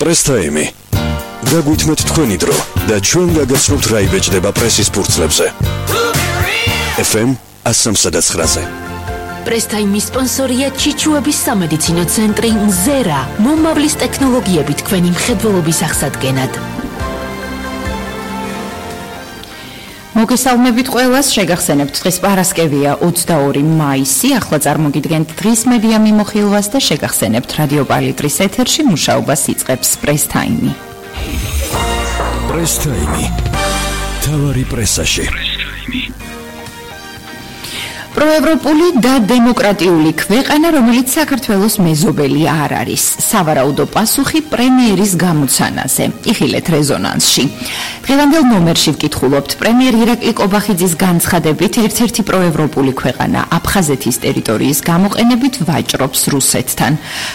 პრესტაიმი. გაგვითმეთ თქვენი დრო და ჩვენ გაგაცნობთ რა იბეჭდება პრესის ფურცლებზე. FM 103-ზე. პრესტაიმის სპონსორია ჩიჩუების სამედიცინო ცენტრი მზერა, მომავლის ტექნოლოგიებით თქვენი მხედველობის აღსადგენად. მოგესალმებით ყველას, შეგახსენებთ დღეს პარასკევია 22 მაისი, ახლა წარმოგიდგენთ დღის მედია მიმოხილვას და შეგახსენებთ რადიო პალიტრის ეთერში მუშაობას იწყებს პრესტაიმი. პრესტაიმი. თავარი პრესაში. პროევროპული და დემოკრატიული ქვეყანა, რომელიც საქართველოს მეზობელი არ არის. სავარაუდო პასუხი პრემიერის გამოცანაზე. იხილეთ რეზონანსში. დღევანდელ ნომერში ვკითხულობთ, პრემიერ ირაკლი კობახიძის განცხადებით, ერთ-ერთი პროევროპული ქვეყანა აფხაზეთის ტერიტორიის გამოყენებით ვაჭრობს რუსეთთან.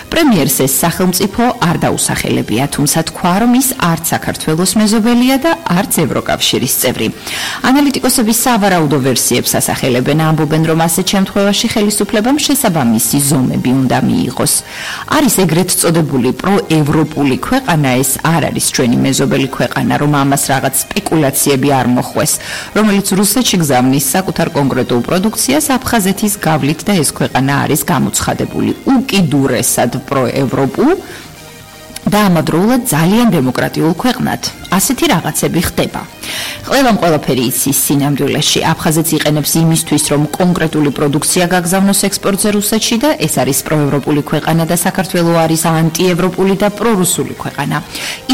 პრემიერს ეს სახელმწიფო არ დაუსახელებია, თუმცა თქვა, რომ ის არც საქართველოს მეზობელია და არც ევროკავშირის წევრი. ანალიტიკოსები სავარაუდო ვერსიებს ასახელებენ, ამბობენ, რომ ასეთ შემთხვევაში ხელისუფლებამ შესაბამისი ზომები უნდა მიიღოს. არის ეგრეთ წოდებული პროევროპული ქვეყანა, ეს არ არის ჩვენი მეზობელი ქვეყანა, რომ ამას რაღაც სპეკულაციები არ მოხვეს, რომელიც რუსეთში გზავნის საკუთარ კონკრეტულ პროდუქციას აფხაზეთის გავლით და ეს ქვეყანა არის გამოცხადებული უკიდურესად პროევროპულ და ამავდროულად ძალიან დემოკრატიულ ქვეყნად. ასეთი რაღაცები ხდება. ყველაფერი იცის სინამდვილეში. აფხაზეთი იყენებს იმისთვის, რომ კონკრეტული პროდუქცია გაგზავნოს ექსპორტზე რუსეთში და ეს არის პროევროპული ქვეყანა და საქართველო არის ანტიევროპული და პრორუსული ქვეყანა.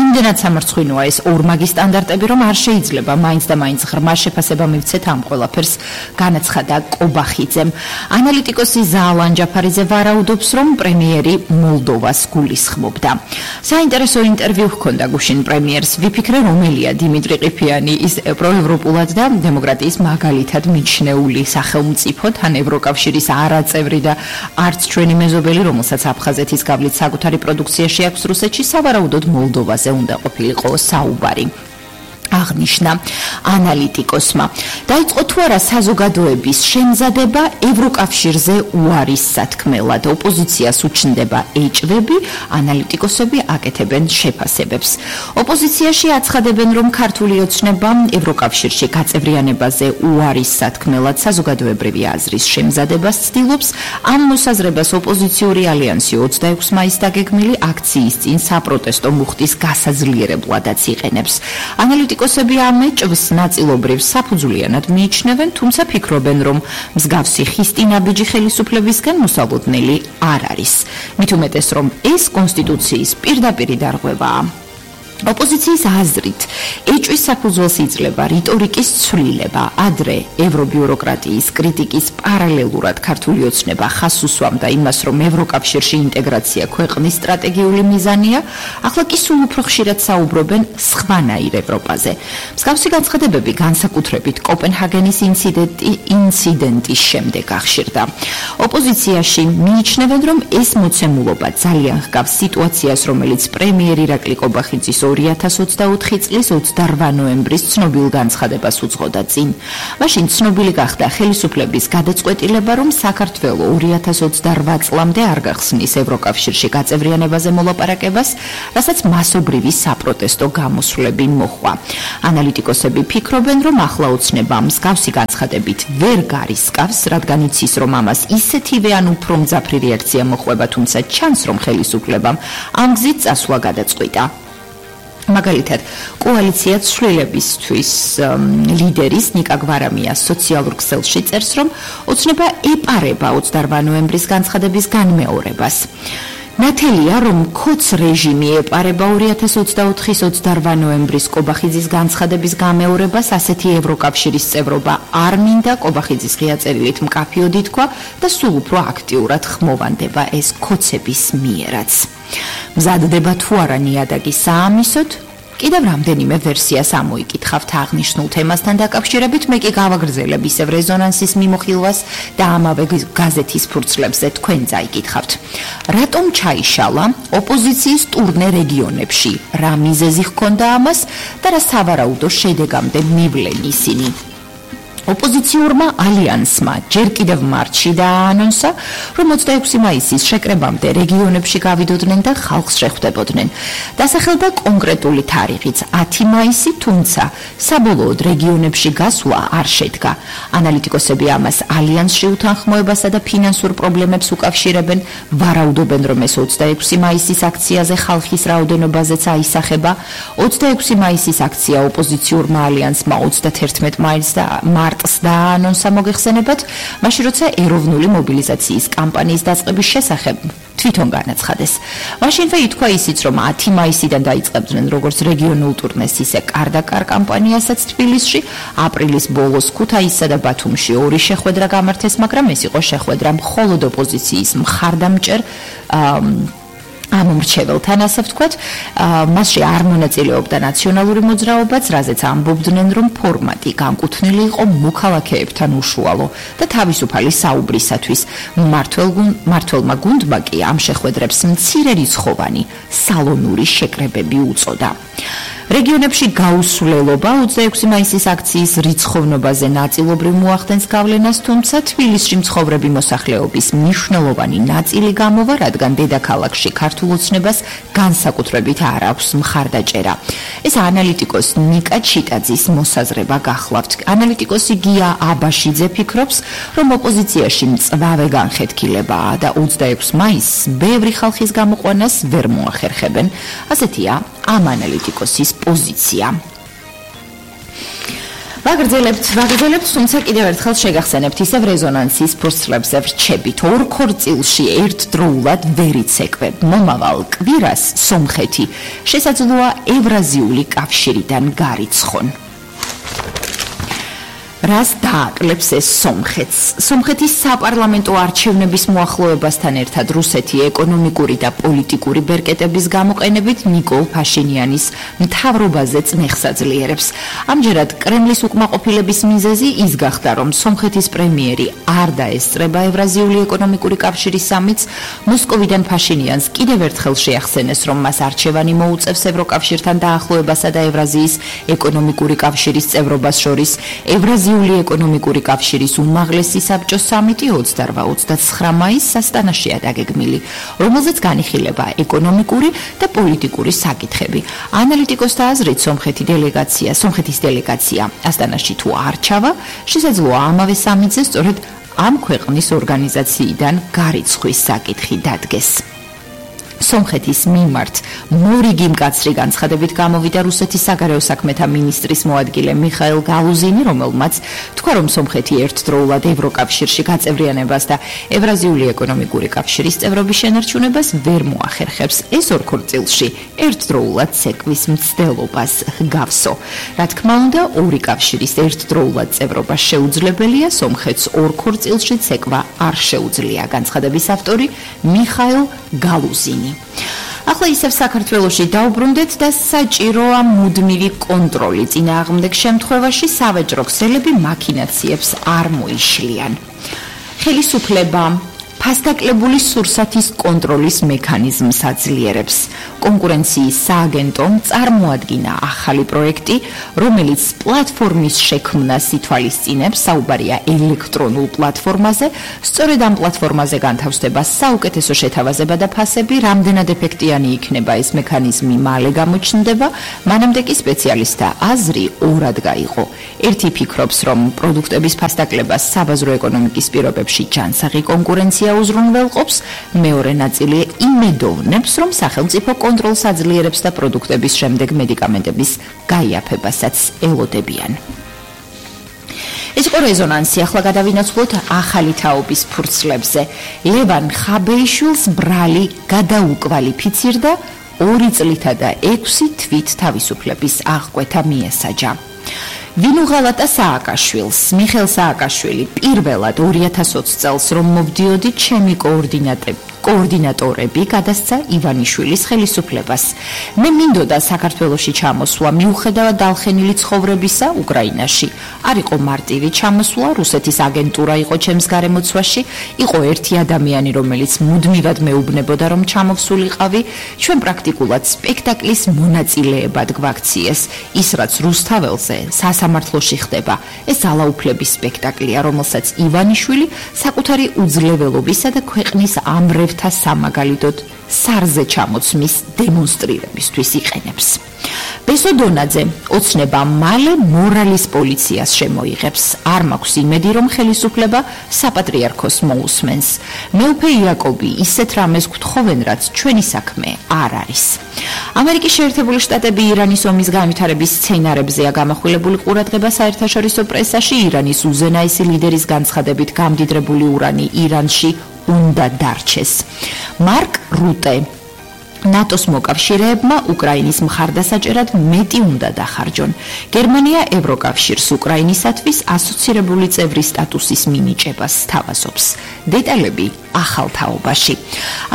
იმდენად სამარცხვინოა ეს ორმაგი სტანდარტები, რომ არ შეიძლება მაინც და მაინც ღრმა შეფასება მივცეთ ამ ყველაფერს, განაცხადა კობახიძემ. ანალიტიკოსი ზალან ჯაფარიძე ვარაუდობს, რომ პრემიერი მოლდოვას გულისხმობდა. საინტერესო ინტერვიუ ჰქონდა გუშინ პრემიერს. ვიფიქრე, რომელია დიმიტრი ყიფიანი, ის პროევროპულად და დემოკრატიის მაგალითად მიჩნეული სახელმწიფო, თან ევროკავშირის არაწევრი და არც ჩვენი მეზობელი, რომელსაც აფხაზეთის გავლით საკუთარი პროდუქციაში აქვს რუსეთში, სავარაუდოდ მოლდოვაზე უნდა ყოფილიყო საუბარი. აღნიშნა ანალიტიკოსმა. დაიწყო თუ არა საზოგადოების შემზადება ევროკავშირზე უარის სათქმელად. ოპოზიციას უჩნდება ეჭვები, ანალიტიკოსები აკეთებენ შეფასებებს. ოპოზიციაში აცხადებენ, რომ ქართული ოცნება ევროკავშირში გაწევრიანებაზე უარის სათქმელად საზოგადოებრივი აზრის შემზადებას ცდილობს. ამ მოსაზრებას ოპოზიციური ალიანსი 26 მაისს დაგეგმილი აქციის წინ საპროტესტო მუხტის გასაძლიერებლადაც იყენებს. ანალიტიკოსები ამ ეჭვს ნაწილობრივ საფუძვლიანად მიიჩნევენ, თუმცა ფიქრობენ, რომ მსგავსი ხისტინაბიჯი ხელისუფლებისგან მოსალოდნელი არ არის. მით უმეტეს, რომ ეს კონსტიტუციის პირდაპირი დარღვევაა. ოპოზიციის აზრით, ეჭვის საფუძველს იძლევა რიტორიკის ცვლილება. ადრე ევრობიუროკრატიის კრიტიკის პარალელურად ქართული ოცნება ხაზს უსვამდა იმას, რომ ევროკავშირში ინტეგრაცია ქვეყნის სტრატეგიული მიზანია, ახლა კი სულ უფრო ხშირად საუბრობენ სხვანაირ ევროპაზე. მსგავსი განცხადებები განსაკუთრებით კოპენჰაგენის ინციდენტის შემდეგ აღშირდა. ოპოზიციაში მიიჩნევენ, რომ ეს მოცემულობა ძალიან ჰგავს სიტუაციას, რომელიც პრემიერ ირაკლი კობახიძის 2024 წლის 28 ნოემბრის ცნობილ განცხადებას უძღოდა წინ. მაშინ ცნობილი გახდა ხელისუფლების გადაწყვეტილება, რომ საქართველო 2028 წლამდე არ გახსნის ევროკავშირში გაწევრიანებაზე მოლაპარაკებას, რასაც მასობრივი საპროტესტო გამოსვლები მოჰყვა. ანალიტიკოსები ფიქრობენ, რომ ახლა ოცნება მსგავსი განცხადებით ვერ გარისკავს, რადგან იცის, რომ ამას ისეთივე ან უფრო მძაფრი რეაქცია მოჰყვება, თუმცა ჩანს, რომ ხელისუფლებამ ამ გზით წასვლა გადაწყვიტა. მაგალითად, კოალიცია ცვლილებისთვის ლიდერის ნიკა გვარამიას სოციალურ ქსელში წერს, რომ ოცნება ეპარება 28 ნოემბრის განცხადების განმეორებას. ნათელია, რომ ქოც რეჟიმი ეპარება 2024-ის 28 ნოემბრის კობახიძის განცხადების გამეორებას, ასეთი ევროკავშირის წევრობა არ მინდა, კობახიძის ღია წერილით მკაფიოდი თქვა და სულ უფრო აქტიურად ხმოვანდება ეს ქოცების მიერაც. მზადდება თუ არა ნიადაგი საამისოდ, კიდევ რამდენიმე ვერსიას ამოიკითხავთ აღნიშნულ თემასთან დაკავშირებით, მე კი გავაგრძელებ ისევ რეზონანსის მიმოხილვას და ამავე გაზეთის ფურცლებზე თქვენ წაიკითხავთ. რატომ ჩაიშალა ოპოზიციის ტურნე რეგიონებში? რა მიზეზი ჰქონდა ამას და რა სავარაუდო შედეგამდე მივლენ ისინი? ოპოზიციურმა ალიანსმა ჯერ კიდევ მარტში დააანონსა, რომ 26 მაისის შეკრებამდე რეგიონებში გავიდოდნენ და ხალხს შეხვდებოდნენ. დასახელდა კონკრეტული თარიღიც 10 მაისი, თუმცა საბოლოოდ რეგიონებში გასვლა არ შედგა. ანალიტიკოსები ამას ალიანსში უთანხმოებასა და ფინანსურ პრობლემებს უკავშირებენ, ვარაუდობენ, რომ ეს 26 მაისის აქციაზე ხალხის რაოდენობაზეც აისახება. 26 მაისის აქცია ოპოზიციურმა ალიანსმა 31 მარტს დააანონსა მოგეხსენებათ, მაშინ როცა ეროვნული მობილიზაციის კამპანიის დაწყების შესახებ თვითონ განაცხადეს. მაშინვე ითქვა ისიც, რომ 10 მაისიდან დაიწყებდნენ როგორც რეგიონულ ტურნეს, ისე კარდაკარ კამპანიასაც თბილისში, აპრილის ბოლოს ქუთაისსა და ბათუმში 2 შეხვედრა გამართეს, მაგრამ ეს იყო შეხვედრა მხოლოდ ოპოზიციის მხარდამჭერ ამომრჩეველთან, ასე ვთქვათ, მასში არ მონაწილეობდა ნაციონალური მოძრაობაც, რაზეც ამბობდნენ, რომ ფორმატი განკუთვნილი იყო მოქალაქეებთან უშუალო და თავისუფალი საუბრისათვის. მმართველმა გუნდმა კი ამ შეხვედრებს მცირერიცხოვანი სალონური შეკრებები უწოდა. რეგიონებში გაუსვლელობა 26 მაისის აქციის რიცხოვნობაზე ნაწილობრივ მოახდენს გავლენას, თუმცა თბილისში მცხოვრები მოსახლეობის მნიშვნელოვანი ნაწილი გამოვა, რადგან დედაქალაქში ქართულ ოცნებას განსაკუთრებით არ აქვს მხარდაჭერა. ეს ანალიტიკოს ნიკა ჩიტაძის მოსაზრება გახლავთ. ანალიტიკოსი გია აბაშიძე ფიქრობს, რომ ოპოზიციაში მწვავე განხეთქილებაა და 26 მაისს ბევრი ხალხის გამოყვანას ვერ მოახერხებენ. ასეთია ამ ანალიტიკოსის პოზიცია. ვაგრძელებთ, თუმცა კიდევ ერთხელ შეგახსენებთ, ისევ რეზონანსის ფურცლებზე ვრჩებით. ორ ქორწილში ერთდროულად ვერ იცეკვებ. მომავალ კვირას სომხეთი შესაძლოა ევრაზიული კავშირიდან გარიცხონ. რას დააკლებს ეს სომხეთს? სომხეთის საპარლამენტო არჩევნების მოახლოებასთან ერთად რუსეთი ეკონომიკური და პოლიტიკური ბერკეტების გამოყენებით ნიკოლ ფაშინიანის მთავრობაზე წნეხს აძლიერებს. ამჯერად კრემლის უკმაყოფილების მიზეზი ის გახდა, რომ სომხეთის პრემიერი არ დაესწრება ევრაზიული ეკონომიკური კავშირის სამიტს. მოსკოვიდან ფაშინიანს კიდევ ერთხელ შეახსენეს, რომ მას არჩევანი მოუწევს ევროკავშირთან დაახლოებასა და ევრაზიის ეკონომიკური კავშირის წევრობას შორის. ევრაზიული ეკონომიკური კავშირის უმაღლესი საბჭოს სამიტი 28-29 მაისს ასტანაშია დაგეგმილი, რომელზეც განიხილება ეკონომიკური და პოლიტიკური საკითხები. ანალიტიკოსთა აზრით, სომხეთის დელეგაცია ასტანაში თუ არ ჩავა, შესაძლოა ამავე სამიტზე სწორედ ამ ქვეყნის ორგანიზაციიდან გარიცხვის საკითხი დადგეს. სომხეთის მიმართ მორიგი მკაცრი განცხადებით გამოვიდა რუსეთის საგარეო საქმეთა მინისტრის მოადგილე მიხაილ გალუზინი, რომელმაც თქვა, რომ სომხეთი ერთდროულად ევროკავშირში გაწევრიანებას და ევრაზიული ეკონომიკური კავშირის წევრობის შენარჩუნებას ვერ მოახერხებს. ეს ორ ქორწილში ერთდროულად ცეკვის მცდელობას ჰგავსო. რა თქმა უნდა, ორი კავშირის ერთდროულად წევრობა შეუძლებელია, სომხეთს ორ ქორწილში ცეკვა არ შეუძლია. განცხადების ავტორი მიხაილ გალუზინი. ახლა ისევ საქართველოში დაუბრუნდეთ და საჭიროა მუდმივი კონტროლი. წინააღმდეგ შემთხვევაში სავაჭრო ქსელები მაქინაციებს არ მოიშლიან. ხელისუფლება ფასდაკლებული სურსათის კონტროლის მექანიზმს აძლიერებს. კონკურენციის სააგენტომ წარმოადგინა ახალი პროექტი, რომელიც პლატფორმის შექმნას ითვალისწინებს. საუბარია ელექტრონულ პლატფორმაზე. სწორედ ამ პლატფორმაზე განთავსდება საუკეთესო შეთავაზება და ფასები. რამდენად ეფექტიანი იქნება ეს მექანიზმი მალე გამოჩნდება. მანამდე კი სპეციალისტთა აზრი ორად გაიყო. ერთი ფიქრობს, რომ პროდუქტების ფასდაკლებას საბაზრო ეკონომიკის პირობებში ჯანსაღი კონკურენცია უზრუნველყოფს. მეორე ნაწილი იმედოვნებს, რომ სახელმწიფო კონტროლს აძლიერებს და პროდუქტების შემდეგ მედიკამენტების გაიაფებასაც ელოდებიან. ეს იყო რეზონანსი. ახლა გადავინაცვლოთ ახალი თაობის ფურცლებზე. ლევან ხაბეიშვილს ბრალი გადაუკვალიფიცირდა 2 წლითა და 6 თვით თავისუფლების აღკვეთა მიესაჯა. ვინ უღალატა სააკაშვილს? მიხეილ სააკაშვილი პირველად 2020 წელს რომ მოვდიოდი ჩემი კოორდინატორები გადასცა ივანიშვილის ხელისუფლებას. მე მინდოდა საქართველოში ჩამოსვლა მიუხედავად დალხენილი ცხოვრებისა უკრაინაში. არ იყო მარტივი ჩამოსვლა, რუსეთის აგენტურა იყო ჩემს გარემოცვაში, იყო ერთი ადამიანი, რომელიც მუდმივად მეუბნებოდა, რომ ჩამოვსულიყავი, ჩვენ პრაქტიკულად სპექტაკლის მონაწილეებად გვაქციეს. ის რაც რუსთაველზე სასამართლოში ხდება, ეს ძალაუფლების სპექტაკლია, რომელსაც ივანიშვილი საკუთარი უძლეველობისა და ქვეყნის ამრევთა სამაგალითოდ სარზე ჩამოცმის დემონსტრირებისთვის იყენებს. ბესო დონაძე ოცნება მალე მორალის პოლიციას შემოიღებს. არ მაქვს იმედი, რომ ხელისუფლება საპატრიარქოს მოусმენს. მეუფე იაკობი ისეთ რამეს გთხოვენ, რაც ჩვენი საქმე არ არის. ამერიკის შეერთებული შტატები ირანის ომის განვითარების სცენარებზეა გამახვილებული ყურადღება საერთაშორისო პრესაში. ირანის უზენაესი ლიდერის განცხადებით გამდიდრებული ურანი ირანში უნდა დარჩეს. მარკ რუტე ნატოს მოკავშირეებმა უკრაინის მხარდასაჭერად მეტი უნდა დახარჯონ. გერმანია ევროკავშირს უკრაინისათვის ასოცირებული წევრის სტატუსის მინიჭებას სთავაზობს. დეტალები ახალ თაობაში.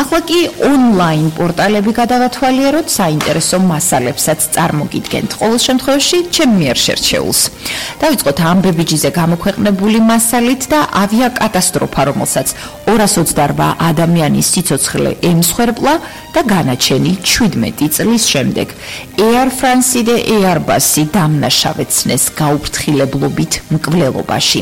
ახლა კი ონლაინ პორტალები გადავათვალიეროთ, საინტერესო მასალებსაც წარმოგიდგენთ. ყოველ შემთხვევაში ჩემ მიერ შერჩეულს. დავიწყოთ ამბებიჯიზე გამოქვეყნებული მასალით და ავიაკატასტროფა, რომელსაც 228 ადამიანის სიცოცხლე ემსხვერპლა და განაჩენი 17 წლის შემდეგ. Air France და Airbus-ი დამნაშავეცნეს გაუფრთხილებლობით მკვლელობაში.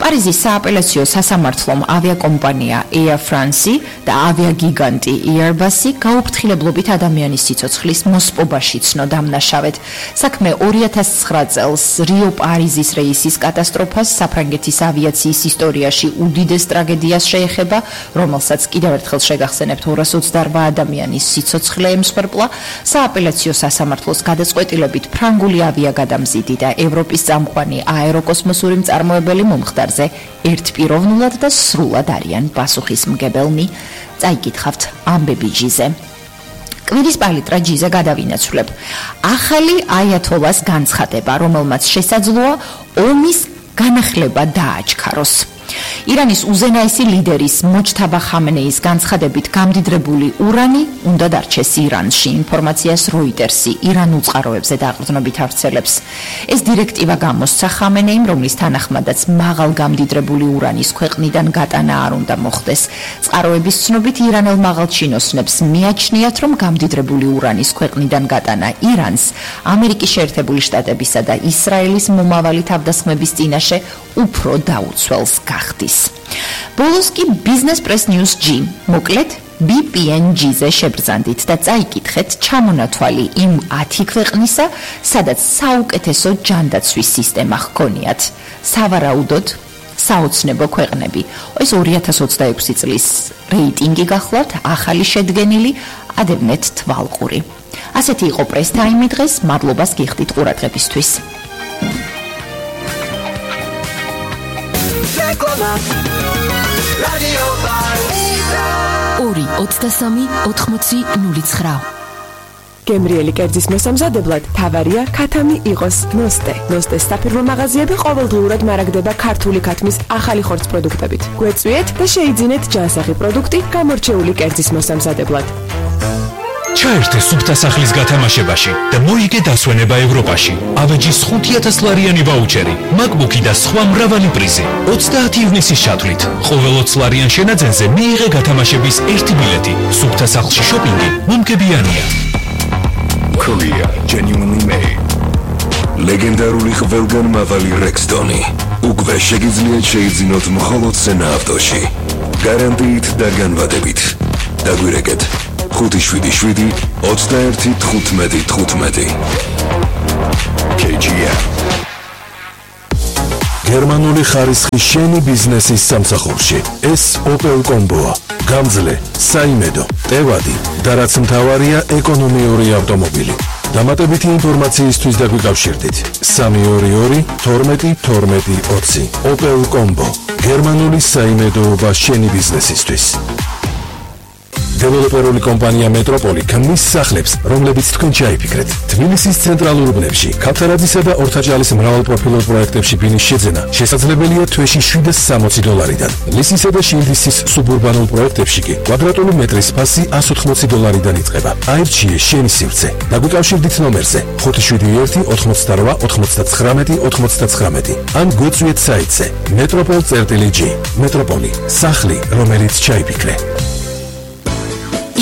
პარიზის სააპელაციო სასამართლომ ავიაკომპანია Air France და ავიაგიგანტი Airbus-ი გაუფრთხილებლობით ადამიანის სიცოცხლის მოსპობაში ცნო დამნაშავედ. საქმე 2009 წელს რიო-პარიზის რეისის კატასტროფას, საფრანგეთის ავიაციის ისტორიაში უდიდეს ტრაგედიას შეეხება, რომელსაც კიდევ ერთხელ შეგახსენებთ 228 ადამიანის სიცოცხლე ემსხვერპლა. სააპელაციო სასამართლოს გადაწყვეტილებით ფრანგული ავიაგადამზიდი და ევროპის წამყვანი აეროკოსმოსური მწარმოებელი მომხდარზე ერთპიროვნულად და სრულად არიან პასუხისმგებელნი. წაიკითხავთ ამბებიჯიზე. კვირის პალიტრაჯიზე გადავინაცვლებ. ახალი აიათოლას განცხადება, რომელმაც შესაძლოა ომის განახლება დააჩქაროს. ირანის უზენაესი ლიდერის მოჯთაბა ხამენეის განცხადებით გამდიდრებული ურანი უნდა დარჩეს ირანში. ინფორმაციას როიტერსი ირანულ წყაროებზე დაყრდნობით ავრცელებს. ეს დირექტივა გამოსცა ხამენეიმ, რომლის თანახმადაც მაღალ გამდიდრებული ურანის ქვეყნიდან გატანა არ უნდა მოხდეს. წყაროების ცნობით ირანელ მაღალჩინოსნებს მიაჩნიათ, რომ გამდიდრებული ურანის ქვეყნიდან გატანა ირანს ამერიკის შეერთებული შტატებისა და ისრაელის მომავალი თავდასხმების წინაშე უფრო დაუცველს გახდის. ბოლოს კი Business Press News G, მოკლედ BPNG-ზე შებრძანდით და წაიკითხეთ ჩამონათვალი იმ 10 ქვეყნისა, სადაც საუკეთესო ჯანდაცვის სისტემა ჰქონიათ. სავარაუდოდ საოცნებო ქვეყნები. ეს 2026 წლის რეიტინგი გახლავთ, ახალი შედგენილი, ადევნეთ თვალყური. ასეთი იყო Press Time დღეს, მადლობას გიხდით ყურადღებისთვის. 2-23-80-09. გემრიელი კერძის მოსამზადებლად თავარია ქათამი იყოს ნოსტე. ნოსტეს საფირმო მაღაზიები ყოველდღიურად მარაგდება ქართული ქათმის ახალი ხორცს პროდუქტებით. გვეწვიეთ და შეიძინეთ ჯანსაღი პროდუქტი გამორჩეული კერძის მოსამზადებლად. ჩაერთე სუფთა სახლის გათამაშებაში და მოიგე დასვენება ევროპაში. ავეჯის 5,000 ლარიანი ვაუჩერი, MacBook-ი და სხვა მრავალი პრიზი. 30 ივნისის ჩათვლით. ყოველ 20 ლარიან შენაძენზე მიიღე გათამაშების ერთი ბილეთი. სუფთა სახლში შოპინგი მომგებიანია. Korea genuinely made. ლეგენდარული ყველგანმავალი Rexton-ი. უკვე შეგიძლიათ შეიძინოთ მხოლოდ სენა ავტოში. გარანტიით და განვადებით. დაგვირეკეთ 577-21-15-15. KGM. გერმანული ხარისხის შენი ბიზნესის სამსახურში. ეს Opel Combo-ა. გამძლე, საიმედო, ტევადი და რაც მთავარია ეკონომიური ავტომობილი. დამატებითი ინფორმაციისთვის დაგვიკავშირდით 322-12-12-20. Opel Combo. გერმანული საიმედოობა შენი ბიზნესისთვის. დეველოპერული კომპანია მეტროპოლი ქმნის სახლებს, რომლებიც თქვენ ჩაიფიქრეთ. თბილისის ცენტრალურ უბნებში, ქავთარაძისა და ორთაჭალის მრავალპროფილურ პროექტებში ბინის შეძენა შესაძლებელია თვეში $760-დან. ლისისა და შილდისის სუბურბანულ პროექტებში კი კვადრატული მეტრის ფასი $180-დან იწყება. აირჩიე შენი სივრცე. დაგვიკავშირდით ნომერზე 571-99-99 ან გვეწვიეთ საიტზე metropol.g. მეტროპოლი, სახლი, რომელიც ჩაიფიქრე.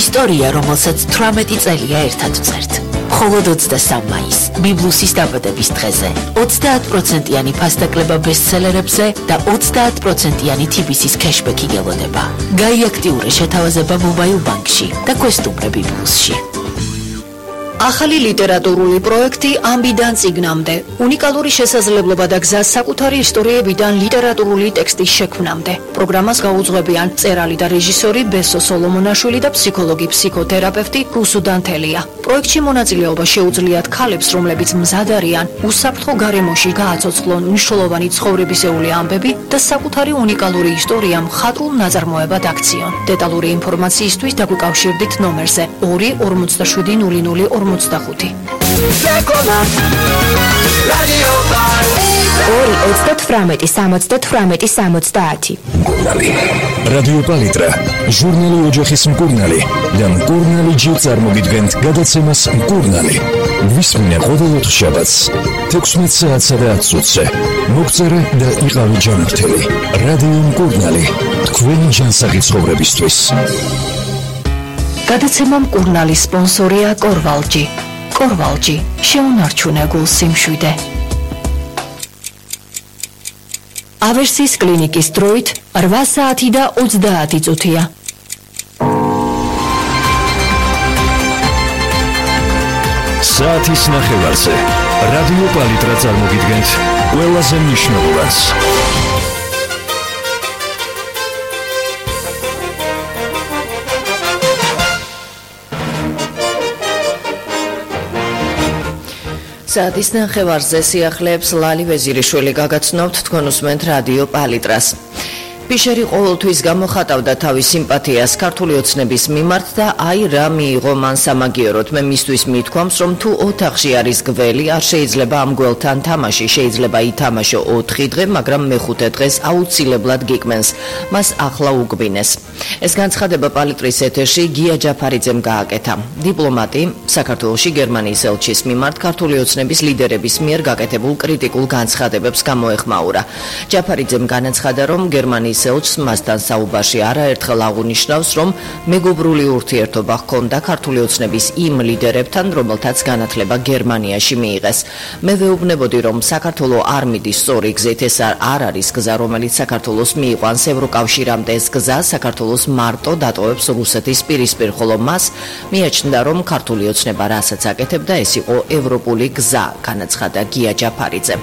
ისტორია, რომელსაც 18 წელია ერთად ვწერთ. მხოლოდ 23 მაისს, ბიბლუსის დაბადების დღეზე, 30%-იანი ფასდაკლება ბესტსელერებზე და 30%-იანი TBC-ის кэшბექი გელოდება. გაიაქტიურე შეთავაზება მობაილ ბანკში და გვესტუმრე ბიბლუსში. ახალი ლიტერატურული პროექტი ამბიდან წიგნამდე. უნიკალური შესაძლებლობა და გზა საკუთარი ისტორიებიდან ლიტერატურული ტექსტის შექმნამდე. პროგრამას გაუძღვებიან მწერალი და რეჟისორი ბესო სოლომონაშვილი და ფსიქოლოგი ფსიქოთერაპევტი რუსუ დანთელია. პროექტში მონაწილეობა შეუძლიათ ქალებს, რომლებიც მზად არიან უსაფრთხო გარემოში გააცოცხლონ მნიშვნელოვანი ცხოვრებისეული ამბები და საკუთარი უნიკალური ისტორია მხატვრულ ნაწარმოებად აქციონ. დეტალური ინფორმაციისთვის დაგვიკავშირდით ნომერზე 2-47-00-45. 2-38-70-70. რადიო პალიტრა, ჟურნალი ოჯახის მკურნალი და მკურნალი ჯერ წარმოგიდგენთ გადაცემას მკურნალი. ვისმინე ყოველ ოთხშაბათს 16 საათსა და 10 წუთზე. მოგწერე და იყავი ჯანმრთელი. რადიო მკურნალი, თქვენი ჯანსაღი ცხოვრებისთვის. გადაცემა მკურნალი სპონსორია კორვალჯი. კორვალჯი, შეუნარჩუნე გულს სიმშვიდე. ავერსის კლინიკის დროით 8 საათი და 30 წუთია. საათის ნახევარზე რადიო პალიტრა წარმოგიდგენთ ყველაზე მნიშვნელოვანს. საათის ნახევარზე სიახლეებს ლალი ვეზირიშვილი გაგაცნობთ, თქვენ უსმენთ რადიო პალიტრას. ფიშერი ყოველთვის გამოხატავდა თავის სიმპათიას ქართული ოცნების მიმართ და აი რა მიიღო მან სამაგიეროდ. მე მისთვის მithქვამს, რომ თუ ოთახში არის გველი, არ შეიძლება ამ გველთან თამაში, შეიძლება ითამაშო 4 დღე, მაგრამ მე-5 დღეს აუცილებლად გიკმენს. მას ახლა უგვინეს. ეს განცხადება პალიტრის ეთერში გია ჯაფარიძემ გააკეთა. დიპლომატი საქართველოში გერმანიის ელჩის მიმართ ქართული ოცნების ლიდერების მიერ გაკეთებულ კრიტიკულ განცხადებებს გამოეხმაურა. ჯაფარიძემ განაცხადა, რომ გერმანიის ელჩს მასთან საუბარში არაერთხელ აღნიშნავს, რომ მეგობრული ურთიერთობა ჰქონდა ქართული ოცნების იმ ლიდერებთან, რომელთაც განათლება გერმანიაში მიიღეს. მე ვეუბნებოდი, რომ საქართველო არ მიდის სწორი გზით, ეს არ არის გზა, რომელიც საქართველოს მიიყვანს ევროკავშირამდე. ეს გზა საქართველოს მარტო დატოვებს რუსეთის პირისპირ, ხოლო მას მიაჩნდა, რომ ქართული ოცნება რასაც აკეთებდა, ეს იყო ევროპული გზა, განაცხადა გია ჯაფარიძემ.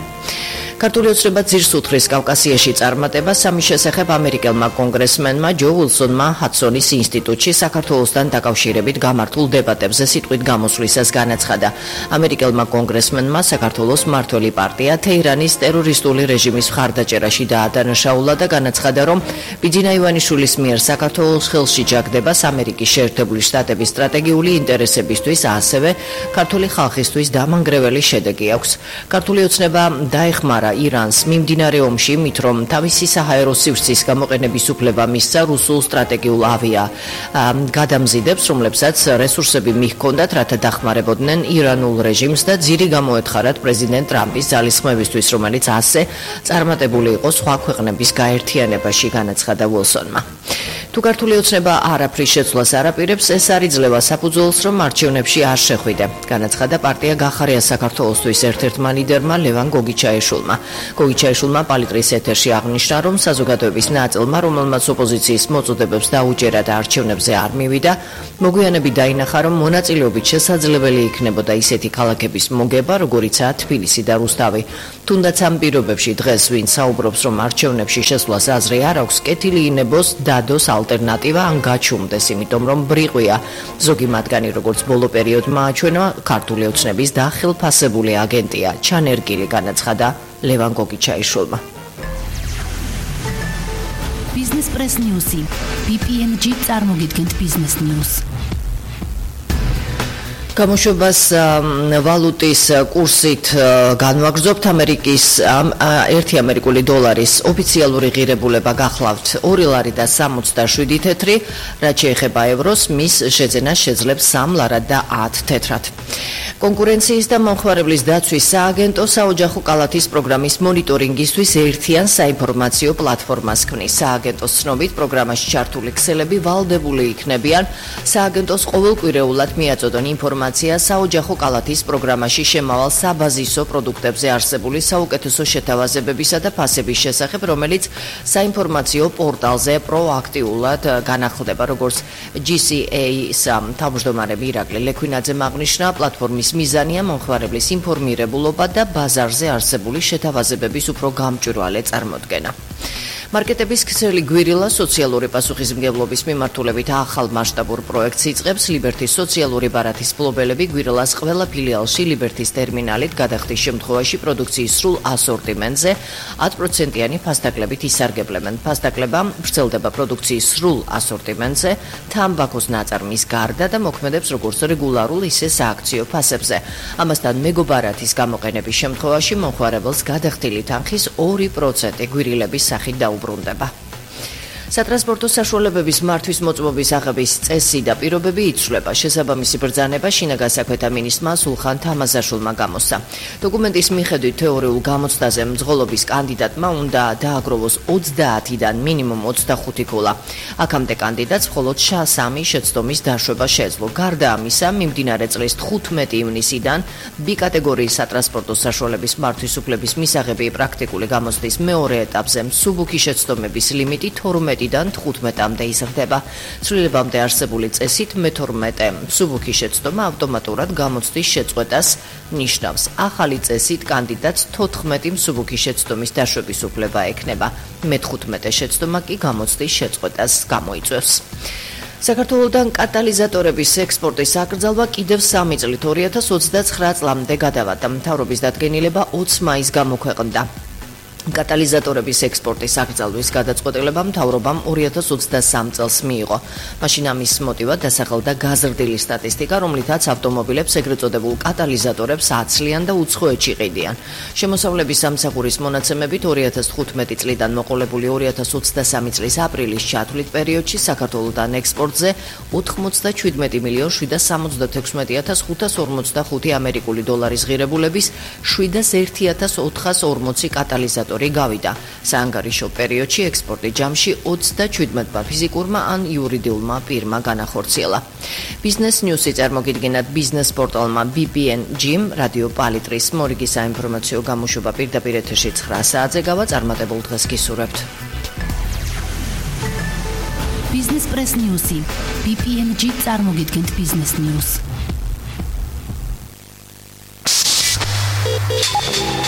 ქართული ოცნება ძირს უთხრის კავკასიაში წარმატებას ამის შესახებ ამერიკელმა კონგრესმენმა ჯო უილსონმა ჰადსონის ინსტიტუტში საქართველოსთან დაკავშირებით გამართულ დებატებზე სიტყვით გამოსვლისას განაცხადა. ამერიკელმა კონგრესმენმა საქართველოს მმართველი პარტია თეირანის ტერორისტული რეჟიმის მხარდაჭერაში დაადანაშაულა და განაცხადა, რომ ბიძინა ივანიშვილის მიერ საქართველოს ხელში ჯაგდებას ამერიკის შეერთებული შტატების სტრატეგიული ინტერესებისთვის, ასევე ქართული ხალხისთვის დამანგრეველი შედეგი აქვს. ქართული ოცნება დაეხმარა ირანს მიმდინარე ომში იმით, რომ თავისი საჰაერო სივრცის გამოყენების უფლება მისცა რუსულ სტრატეგიულ ავია გადამზიდებს, რომლებსაც რესურსები მიჰქონდათ, რათა დახმარებოდნენ ირანულ რეჟიმს და ძირი გამოეთხარათ პრეზიდენტ ტრამპის ძალისხმევისთვის, რომელიც ასე წარმატებული იყო სხვა ქვეყნების გაერთიანებაში, განაცხადა უილსონმა. თუ ქართული ოცნება არაფრის შეცვლას არაპირებს, ეს არ იძლევა საფუძველს, რომ არჩევნებში არ შეხვიდე, განაცხადა პარტია გახარია საქართველოსთვის ერთ-ერთმა ლიდერმა ლევან გოგიჩაიშვილმა. გოგიჩაიშვილმა პალიტრის ეთერში აღნიშნა, რომ საზოგადოების ნაწილმა, რომელმაც ოპოზიციის მოწოდებებს დაუჯერა და არჩევნებზე არ მივიდა, მოგვიანებით დაინახა, რომ მონაწილეობით შესაძლებელი იქნებოდა ისეთი ქალაქების მოგება, როგორიცაა თბილისი და რუსთავი. თუნდაც ამ პირობებში დღეს ვინ საუბრობს, რომ არჩევნებში შესვლას აზრი არ აქვს, კეთილი ინებოს დადოს ალტერნატივა ან გაჩუმდეს, იმიტომ რომ ბრიყვია. ზოგი მათგანი, როგორც ბოლო პერიოდმა აჩვენა, ქართული ოცნების დახელფასებული აგენტია, ჩანერგილი, განაცხადა ლევან გოგიჩაიშვილმა. Business Press News-ი. BPNG წარმოგიდგენთ Business News. გამოშვებას ვალუტის კურსით განვაგრძობთ. ამერიკის 1 ამერიკული დოლარის ოფიციალური ღირებულება გახლავთ 2 ლარი და 67 თეთრი, რაც შეეხება ევროს, მის შეძენას შეძლებს 3 ლარად და 10 თეთრად. კონკურენციის და მომხმარებლის დაცვის სააგენტო საოჯახო კალათის პროგრამის მონიტორინგისთვის ერთიან საინფორმაციო პლატფორმას ქმნის. სააგენტოს ცნობით, პროგრამაში ჩართული ქსელები ვალდებული იქნებიან სააგენტოს ყოველკვირეულად მიაწოდონ ინფორმაცია საოჯახო კალათის პროგრამაში შემავალ საბაზისო პროდუქტებზე არსებული საუკეთესო შეთავაზებებისა და ფასების შესახებ, რომელიც საინფორმაციო პორტალზე პროაქტიულად განახლდება, როგორც GCA-ის თავმჯდომარე ირაკლი ლექვინაძემ აღნიშნა. პლატფორმის მიზანია მომხმარებლის ინფორმირებულობა და ბაზარზე არსებული შეთავაზებების უფრო გამჭვირვალე წარმოდგენა. მარკეტების ქსელი გვირილა სოციალური პასუხისმგებლობის მიმართულებით ახალ მასშტაბურ პროექტს იწყებს. ლიბერთის სოციალური ბარათის მფლობელები გვირილას ყველა ფილიალში ლიბერთის ტერმინალით გადახდის შემთხვევაში პროდუქციის სრულ ასორტიმენტზე 10%-იანი ფასდაკლებით ისარგებლებენ. ფასდაკლება ვრცელდება პროდუქციის სრულ ასორტიმენტზე, თამბაქოს ნაწარმის გარდა და მოქმედებს როგორც რეგულარულ, ისე სააქციო ფასებზე. ამასთან მეგობარათის გამოყენების შემთხვევაში მომხმარებელს გადახდილი თანხის 2% გვირილების სახით დაუბრუნდება. სატრანსპორტო საშუალებების მართვის მოწმობის აღების წესი და პირობები იცვლება. შესაბამისი ბრძანება შინაგან საქმეთა მინისტრმა სულხან თამაზაშვილმა გამოსცა. დოკუმენტის მიხედვით თეორიულ გამოცდაზე მძღოლობის კანდიდატმა უნდა დააგროვოს 30-დან მინიმუმ 25 ქულა. აქამდე კანდიდატს მხოლოდ 3 შეცდომის დაშვება შეეძლო. გარდა ამისა, მიმდინარე წლის 15 ივნისიდან B კატეგორიის სატრანსპორტო საშუალების მართვის უფლების მისაღები პრაქტიკული გამოცდის მეორე ეტაპზე მსუბუქი შეცდომების ლიმიტი 12-დან 15-მდე იზრდება. ცვლილებამდე არსებული წესით მე-12 მსუბუქი შეცდომა ავტომატურად გამოცდის შეწყვეტას ნიშნავს. ახალი წესით კანდიდატს 14 მსუბუქი შეცდომის დაშვების უფლება ექნება. მე-15 შეცდომა კი გამოცდის შეწყვეტას გამოიწვევს. საქართველოდან კატალიზატორების ექსპორტის აკრძალვა კიდევ 3 წლით 2029 წლამდე გადავადა. მთავრობის დადგენილება 20 მაისს გამოქვეყნდა. კატალიზატორების ექსპორტის აკრძალვის გადაწყვეტილება მთავრობამ 2023 წელს მიიღო. მაშინ ამის მოტივად დასახელდა გაზრდილი სტატისტიკა, რომლითაც ავტომობილებს ეგრეთ წოდებულ კატალიზატორებს აცლიან და უცხოეთში ყიდიან. შემოსავლების სამსახურის მონაცემებით 2015 წლიდან მოყოლებული 2023 წლის აპრილის ჩათვლით პერიოდში საქართველოდან ექსპორტზე 97,766,545 ამერიკული დოლარის ღირებულების 701,440 კატალიზატორი გავიდა. საანგარიშო პერიოდში ექსპორტი ჯამში 37-მა ფიზიკურმა ან იურიდიულმა პირმა განახორციელა. Business News-ი წარმოგიდგენათ ბიზნეს პორტალმა BPNG-მ რადიო პალიტრის მორიგი საინფორმაციო გამოშვება პირდაპირ ეთერში 9 საათზე გავა. წარმატებულ დღეს გისურვებთ. Business Press News-ი. BPNG წარმოგიდგენთ Business News.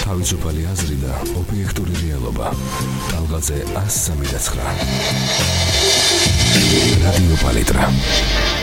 თავისუფალი აზრი და ობიექტური რეალობა. ტალღაზე 103.9. რადიო პალიტრა.